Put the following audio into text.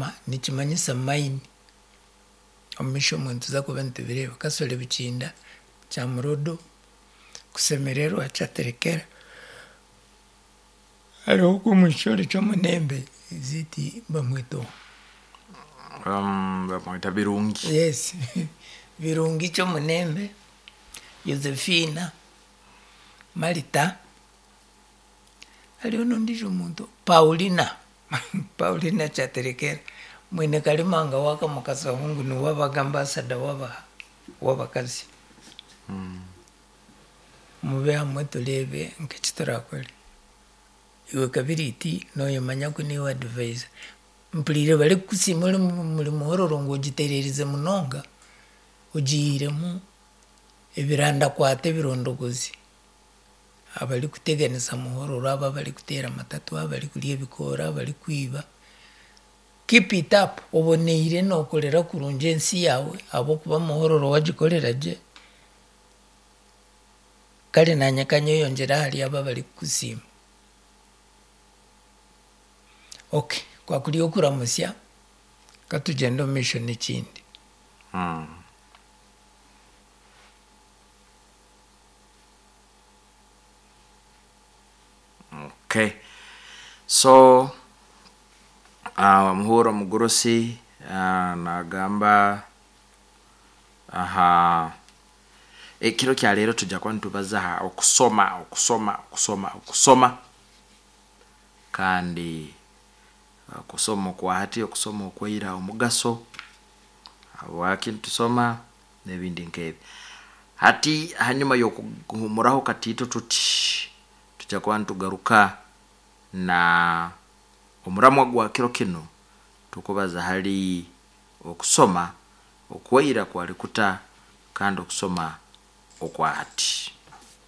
Mukama nikimanyisa mine. Omu maisho omwe nituza kuba nitubireeba. Kasole Bikinda, Kyamurodo, Kusemererwa, Kyaterekera. Hariho ogwo omwishiki ori Kyomunembe, is it bamweta oha? Bamweta Birungi. Yes, Birungi Kyomunembe, Yozefiina, Marita, hariho n'ondiijo muntu, Paulina, Paulina Kyaterekera, mwine Karimanga w'akamukasahungu ngu niwe abaga ambasada w'abakazi. Mube hamwe tureebe nk'eki turakore. Iwe Kabiriiti nooyemanya ku niiwe adviser. Mpuriire barikukusiima ori omuri Muhororo ngu ogitereerize munonga, ogiihiremu ebirandakwata ebirondogozi. Abarikuteganisa Muhororo abo abarikuteera amatatu, abarikurya ebikoora, abarikwiba. Keep it up, oboneire nookorera kurungi ensi yaawe ahabw'okuba Muhororo wagikorera gye, kare naanye kanyeyongyere ahari abo abarikukusiima. Ok, kwakuri okuramutsya, katugyende omu maisho n'ekindi. Okay. So, omuhuura omugurusi nagamba aha ekiro kya leero tujja kuba nitubaza aha okusoma, okusoma, okusoma, okusoma kandi okusoma okwa hati, okusoma okwaira omugaso, habwaki nitusoma n'ebindi nk'ebi. Hati hanyuma y'okuhumuraho katiito tuti, tujja kuba nitugaruka na omuramwa gwa kiro kinu tukubaza hali okusoma okwaira kwali kuta kandi okusoma okwa hati.